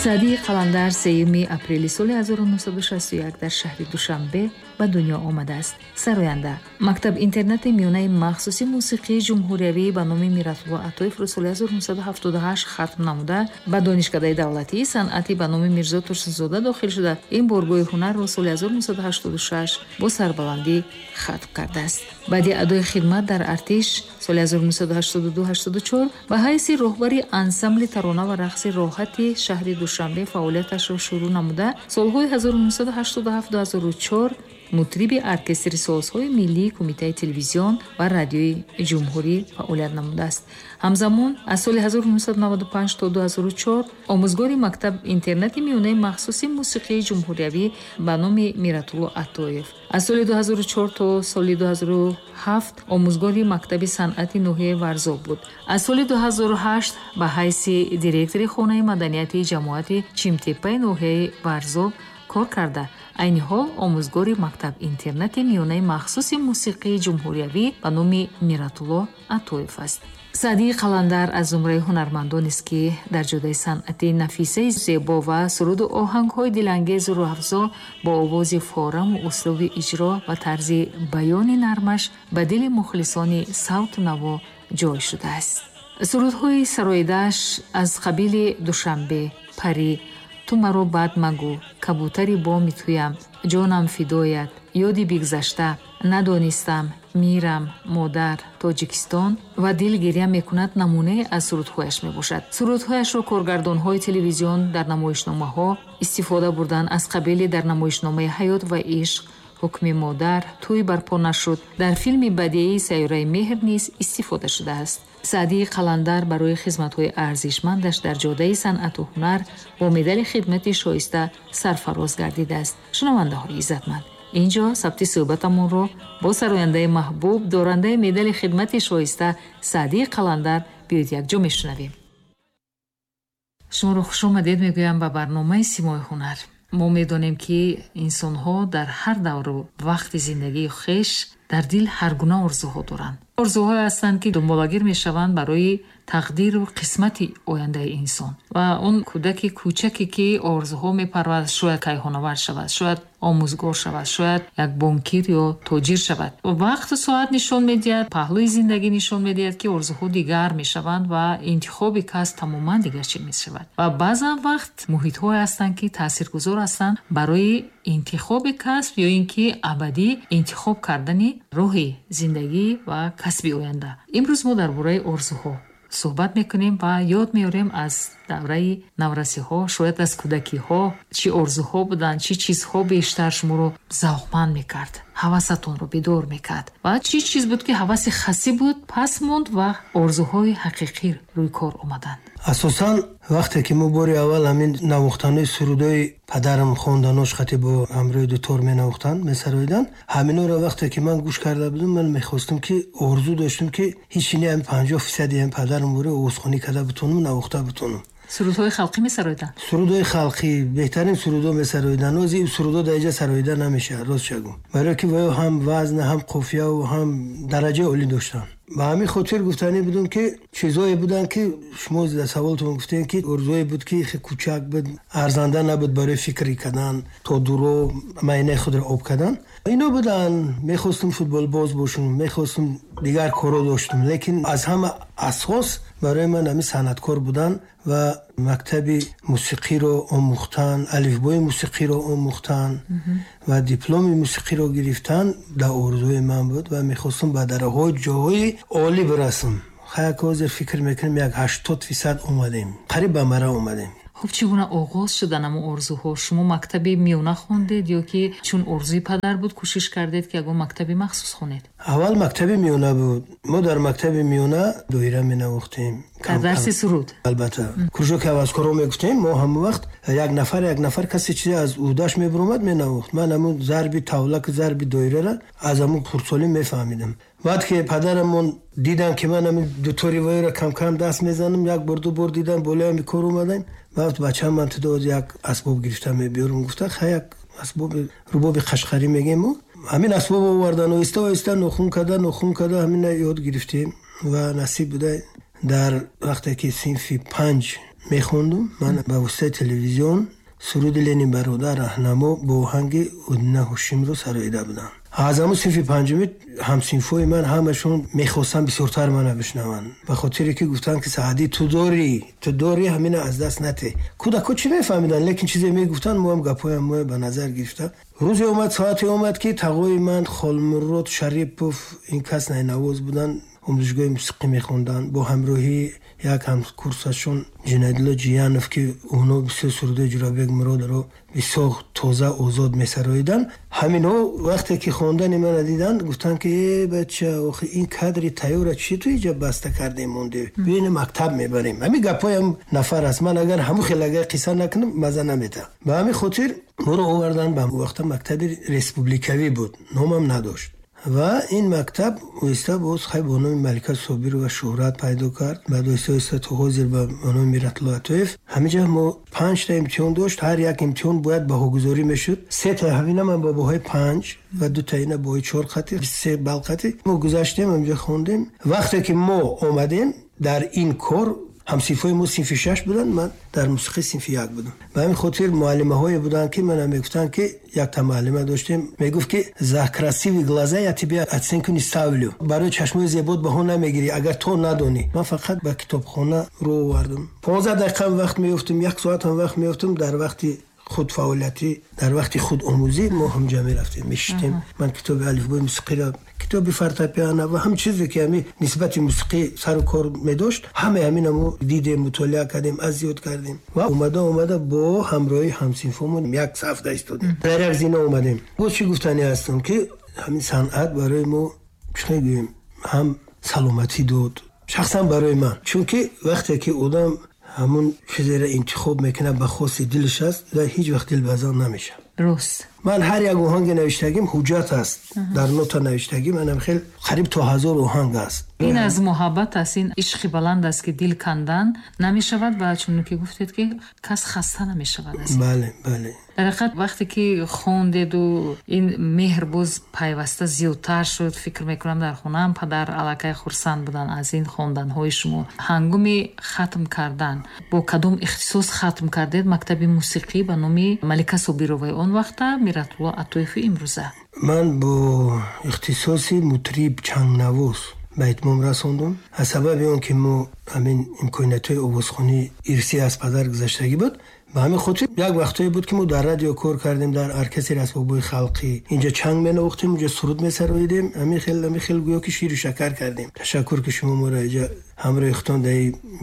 Саъдии Қаландар 3 апрели соли 1961 дар шаҳри Душанбе ба дунё омадааст. Сароянда. Мактаб-интернати миёнаи махсуси мусиқии ҷумҳуриявӣ ба номи Миратулло Атоевро соли 1978 хатм намуда, ба Донишкадаи давлатии санъатӣ ба номи Мирзо Турсунзода дохил шуда, ин боргоҳи ҳунарро соли 1986 бо сарбаландӣ хатм кардааст. Баъди адои хидмат дар артиш соли 1982-84 ба ҳайси роҳбари ансамбли тарона ва рақси роҳати шаҳри Душанбе фаъолияташро шурӯъ намуда, солҳои 1987-2004 мутриби оркестри созҳои миллии Кумитаи телевизион ва радиои ҷумҳурӣ фаъолият намудааст. Ҳамзамон аз соли 1995 то 2004 омӯзгори мактаб-интернати миёнаи махсуси мусиқии ҷумҳуриявӣ ба номи Миратулло Атоев. Аз соли 2004 то соли 2007 омӯзгори мактаби санъати ноҳияи Варзоб буд. Аз соли 2008 ба ҳайси директори хонаи маданияти ҷамоати Чимтепаи ноҳияи Варзоб кор карда, айни ҳол омӯзгори мактаб-интернати миёнаи махсуси мусиқии ҷумҳуриявӣ ба номи Миратулло Атоев аст. Саъдии Қаландар аз зумраи ҳунармандонест, ки дар ҷодаи санъати нафисаи зебо ва суруду оҳангҳои дилангезу рӯҳафзо бо овози фораму услуби иҷро ва тарзи баёни нармаш ба дили мухлисони савту наво ҷой шудааст. Сурудҳои сароидааш аз қабили Душанбе, Парӣ, Ту маро бад магӯ, Кабутари боми туям, Ҷонам фидоят, Ёди бигзашта, Надонистам, Мирам, Модар, Тоҷикистон ва Дил гиря мекунад намунае аз сурудҳояш мебошад. Сурудҳояшро коргардонҳои телевизион дар намоишномаҳо истифода бурданд, аз қабили дар намоишномаи Ҳаёт ва ишқ, Ҳукми модар, Тӯй барпо нашуд, дар филми бадеии Сайёраи меҳр низ истифода шудааст. Саъдии Қаландар барои хизматҳои арзишмандаш дар ҷодаи санъату ҳунар бо медали хидмати шоиста сарфароз гардидааст. Шунавандаҳои иззатманд, инҷо сабти суҳбатамонро бо сарояндаи маҳбуб, дорандаи медали хидмати шоиста Саъдии Қаландар биёед якҷо мешунавем. Шуморо хушомадед мегӯям ба барномаи Симои ҳунар. Мо медонем, ки инсонҳо дар ҳар давру вақти зиндагии хеш дар дил ҳар гуна орзуҳо доранд. Орзуҳое ҳастанд, ки дунболагир мешаванд барои тақдиру қисмати ояндаи инсон. Ва он кӯдаки кӯчаке, ки орзуҳо мепарварад, шояд кайҳонавар шавад, шояд омӯзгор шавад, шояд як бонкир ё тоҷир шавад. Вақту соат нишон медиҳад, паҳлӯи зиндагӣ нишон медиҳад, ки орзуҳо дигар мешаванд ва интихоби кас тамоман дигар чиз мешавад. Ва баъзан вақт муҳитҳое ҳастанд, ки таъсиргузор ҳастанд барои интихоби касб ё ин ки абадӣ интихоб кардани роҳи зиндагӣ ва касби оянда. Имрӯз мо дар бораи орзуҳо суҳбат мекунем ва ёд меорем аз давраи наврасиҳо, шояд аз кӯдакиҳо, чӣ орзуҳо буданд, чӣ чизҳо бештар шуморо завқманд мекард, ҳавасатонро бедор мекард ва чӣ чиз буд, ки ҳаваси хасӣ буд, пас монд ва орзуҳои ҳақиқӣ рӯи кор омаданд. Асосан вақте ки мо бори аввал ҳамин навохтанои сурудҳои падарам хонданош хати бо ҳамроҳи дутор менавохтанд, месароиданд, ҳаминҳоро вақте ки ман гӯш карда будам, ман мехостам, ки орзу доштам, ки ҳеҷ не 50% ҳам падарам бори овозхонӣ карда бутонам, навохта бутонам. Сурудҳои халқӣ месароиданд? Сурудҳои халқӣ, беҳтарин сурудҳо месароиданд. Нози ин сурудҳо дар инҷа сароида намешавад, рост шагӯ. Барои ки ваё ҳам вазн, ҳам қофияву ҳам дараҷаи олӣ доштанд. Ба ҳамин хотир гуфтанӣ будам, ки чизҳое буданд, ки шумо дар саволтон гуфтем, ки орзуе буд, ки хеле кӯчак буд, арзанда набуд барои фикрӣ кардан, то дуро майнаи худро об кардан. Ино буданд. Мехостум футболбоз бошам, мехостум дигар корҳо доштам, лекин аз ҳама асос барои ман ҳамин санъаткор будан ва мактаби мусиқиро омӯхтан, алифбои мусиқиро омӯхтан ва дипломи мусиқиро гирифтан дар орзуи ман буд ва мехостум ба дараҳои ҷоҳои олӣ бирасам. Хаяк ҳозир фикр мекунем, як 80% омадем, қариб ба мара омадем. Хуб, чӣ гуна оғоз шудан ҳамон орзуҳо? Шумо мактаби миёна хондед ё ки чун орзуи падар буд, кӯшиш кардед, ки ягон мактаби махсус хонед? Аввал мактаби миёна буд. Мо дар мактаби миёна доира менавохтем. Дар дарси суруд? Албатта. Кружоки ҳаваскорҳо мегуфтем. Мо ҳамон вақт як нафар, як нафар касе чизе аз ӯҳдаш мебуромад, менавохт. Ман ҳамун зарби тавлаку зарби доираро аз ҳамун хурдсолӣ мефаҳмидам. Баъд ки падарамон дидан, ки ман ҳамин дутори воеро кам-кам даст мезанам, як бор, ду бор дидан, болои ҳами кор омадем. Баъд бачаам, ман тудо як асбоб гирифта мебиёрам, гуфта, ха, як асбоби рубоби қашқарӣ мегем мо. Ҳамин асбоб овардан, оҳиста оҳиста нохун карда, нохун карда ҳамина ёд гирифтем ва насиб буда, дар вақте ки синфи 5 Мехондум, ман ба воситаи телевизион суруди «Ленин бародар раҳнамо» бо оҳанги Одина Ҳошимро сароида будам. Аз ҳамун синфи панҷумӣ ҳамсинфҳои ман ҳамашон мехостанд бисёртар мана бишнаванд, ба хотире ки гуфтанд, ки Саъдӣ, ту дорӣ, ту дорӣ, ҳамина аз даст нате. Кӯдакҳо чӣ мефаҳмиданд, лекин чизе мегуфтанд, мо ҳам гапҳоям мо ба назар гирифта. Рӯзе омад, соате омад, ки тағои ман Холмурод Шарипов, ин кас найнавоз буданд, омӯзишгоҳи мусиқӣ мехонданд, бо ҳамроҳии як ҳамкурсашон Ҷунайдулло Ҷиянов, ки онҳо бисёр сурудои Ҷурабек Муродро бисёр тоза, озод месароиданд. Ҳаминҳо вақте ки хондани мана диданд, гуфтанд, ки э бача, охи ин кадри тайёра чӣ ту иҷа баста кардем, монде, биёна мактаб мебарем. Ҳамин гапҳоям нафар аст, ман агар ҳамун хел агар қисса накунам, маза наметаҳам. Ба ҳамин хотир моро оварданд ба вақта мактаби республикавӣ буд, номам надошт. Ва ин мактаб оҳиста боз хай бо номи Малика Собирова шӯҳрат пайдо кард, баъд оҳиста оҳиста то ҳозир ба номи Миратулло Атоев. Ҳаминҷа мо панҷта имтиҳон дошт, ҳар як имтиҳон бояд баҳогузорӣ мешуд. Сета ҳамина ман бо баҳои 5 ва дута ина баҳои 4 қати, 23 балл қати мо гузаштем, ҳаминҷа хондем. Вақте ки мо омадем дар ин кор, ҳамсинфҳои мо синфи шаш буданд, ман дар мусиқӣ синфи як будам. Ба ҳамин хотир муаллимаҳое буданд, ки мана мегуфтанд, ки якта муаллима доштем, мегуфт, ки за красивые глаза я тебе оценку не ставлю, барои чашмои зебот баҳо намегирӣ, агар то надонӣ. Ман фақат ба китобхона рӯ овардам, 15 дақиқам вақт меёфтум, як соатам вақт меёфтум. Дар вақти худфаъолиятӣ, дар вақти худомӯзӣ мо ҳамҷа мерафтем, мешиштем. Ман китоби алифбои мусиқиро, китоби фортепиано ва ҳам чизе ки ҳами нисбати мусиқӣ сару кор медошт, ҳамаи ҳамина мо дидем, мутолиа кардем, аз ёд кардем ва омада омада бо ҳамроҳии ҳамсинфомон як саф истодем, дар як зина омадем. Боз чӣ гуфтанӣ ҳастам, ки ҳамин санъат барои мо, чӣ мегӯем, ҳам саломатӣ дод, шахсан барои ман, чунки вақте ки одам ҳамун чизеро интихоб мекунад, ба хости дилаш аст ва ҳеҷ вақт дилбазан намешавад. Ман ҳар як оҳанги навиштагим ҳуҷҷат аст, дар нота навиштагим, манам хел қариб то 1000 оҳанг аст. Ин аз муҳаббат аст, ин ишқи баланд аст, ки дил кандан намешавад ва чунон ки гуфтед, ки кас хаста намешавад аз ин. Бале, бале. Дар ҳақиқат, вақте ки хондеду ин меҳр боз пайваста зиёдтар шуд, фикр мекунам, дар хонаам падар аллакай хурсанд буданд аз ин хонданҳои шумо. Ҳангоми хатм кардан бо кадом ихтисос хатм кардед мактаби мусиқӣ ба номи Малика Собироваи он вақта, Миратулло Атоеви имрӯза? Ман бо ихтисоси мутриб, чангнавоз ба итмом расондум. Аз сабаби он ки мо ҳамин имкониятҳои овозхонӣ ирсӣ аз падар гузаштагӣ буд, ба ҳамин хотир як вақтҳое буд, ки мо дар радио кор кардем, дар оркестри асбобҳои халқӣ. Инҷа чанг менавохтем, инҷа суруд месароидем, ҳамин хел, ҳамин хел гӯё ки ширу шакар кардем. Ташаккур, ки шумо моро инҷа ҳамроҳи худтон дар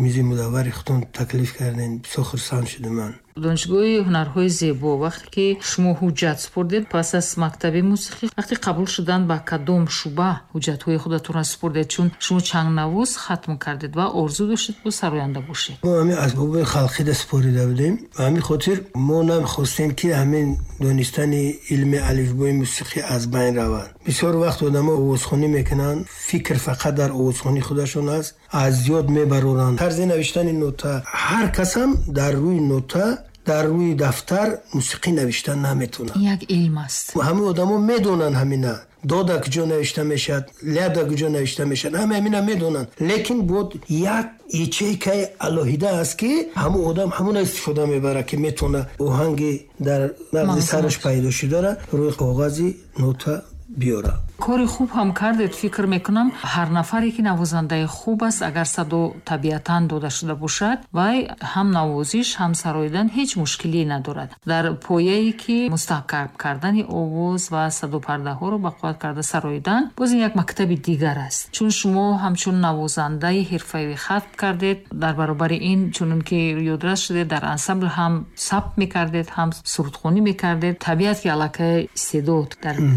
мизи мудаввари худтон таклиф кардем. Бисёр хурсанд шудам ман. Донишгоҳи ҳунарҳои зебо вақте ки шумо ҳуҷҷат супурдед пас аз мактаби мусиқӣ, вақте қабул шудан ба кадом шӯъба ҳуҷҷатҳои худатонро супурдед? Чун шумо чангнавоз хатм кардед ва орзу доштед бо сароянда бошед. Мо ҳамин асбобҳои халқида супорида будем. Ба ҳамин хотир мо намехостем, ки ҳамин донистани илми алифбои мусиқӣ аз байн равад. Бисёр вақт одамо овозхонӣ мекунанд, фикр фақат дар овозхонии худашон аст, аз ёд мебароранд тарзи навиштани нота. Ҳар касам дар рӯи нота, дар рӯи дафтар мусиқӣ навиштан наметавонад. Ин як илм аст. Ҳамаи одамо медонанд ҳамина дода куҷо навишта мешавад, ляда куҷо навишта мешавад, ҳама ҳамина медонанд, лекин бод як ячейкаи алоҳида аст, ки ҳамун одам ҳамуна истифода мебарад, ки метавона оҳанги дар мағзи сараш пайдо шудара рӯи коғази нота биёрад. Кори хуб ҳам кардед, фикр мекунам, ҳар нафаре ки навозандаи хуб аст, агар садо табиатан дода шуда бошад, вай ҳам навозиш, ҳам сароидан ҳеҷ мушкилие надорад. Дар пояе ки мустаҳкам кардани овоз ва садопардаҳоро ба қувват карда сароидан, боз ин як мактаби дигар аст. Чун шумо ҳамчун навозандаи ҳирфавӣ хатм кардед, дар баробари ин, чунон ки ёдрас шудед, дар ансамбл ҳам сабт мекардед, ҳам сурудхонӣ мекардед, табиат ки аллакай истеъдод дар